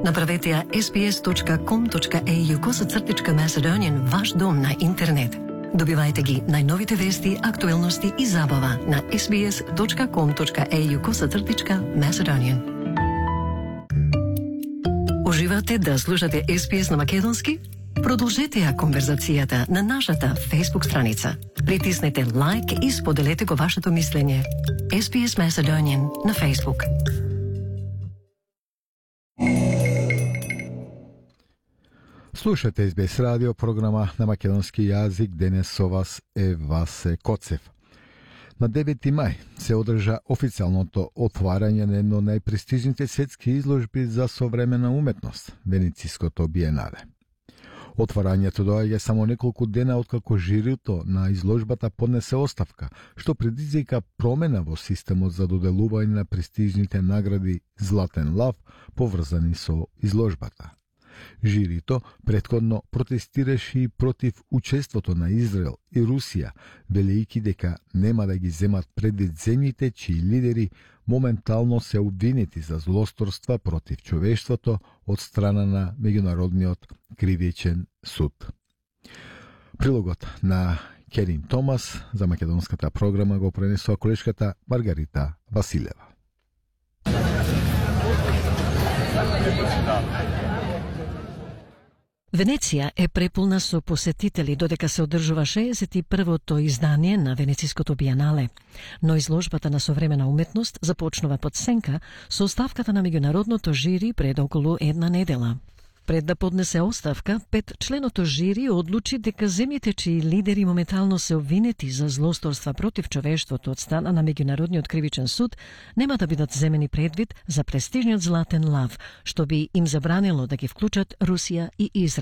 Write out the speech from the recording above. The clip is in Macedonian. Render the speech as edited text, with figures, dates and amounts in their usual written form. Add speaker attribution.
Speaker 1: Направете ја sbs.com.au/Macedonian ваш дом на интернет. Добивајте ги најновите вести, актуелности и забава на sbs.com.au/Macedonian. Уживате да слушате SBS на македонски? Продолжете ја конверзацијата на нашата Facebook страница. Притиснете лайк и споделете го вашето мислење. SBS Macedonian на Facebook.
Speaker 2: Слушате SBS радио, програма на македонски јазик. Денес со вас е Васе Коцев. На 9 мај се одржа официјалното отварање на едно најпрестижните светски изложби за современа уметност, Венециското биенале. Отварањето доаѓа само неколку дена откако жирито на изложбата поднесе оставка, што предизвика промена во системот за доделување на престижните награди Златен лав, поврзани со изложбата. Жирито претходно протестираше и против учеството на Израел и Русија, велејќи дека нема да ги земат предвид земјите чии лидери моментално се обвинети за злосторства против човештвото од страна на Меѓународниот кривичен суд. Прилогот на Керин Томас за македонската програма го пренесува колешката Маргарита Василева.
Speaker 3: Венеција е преполна со посетители додека се одржува 61-то издание на Венециското биенале, но изложбата на современа уметност започнува под сенка со оставката на меѓународното жири пред околу една недела. Пред да поднесе оставка, 5-членото жири одлучи дека земјите чии лидери моментално се обвинети за злосторства против човештвото од страна на Меѓународниот кривичен суд нема да бидат земени предвид за престижниот Златен лав, што би им забранило да ги вклучат Русија и Израел.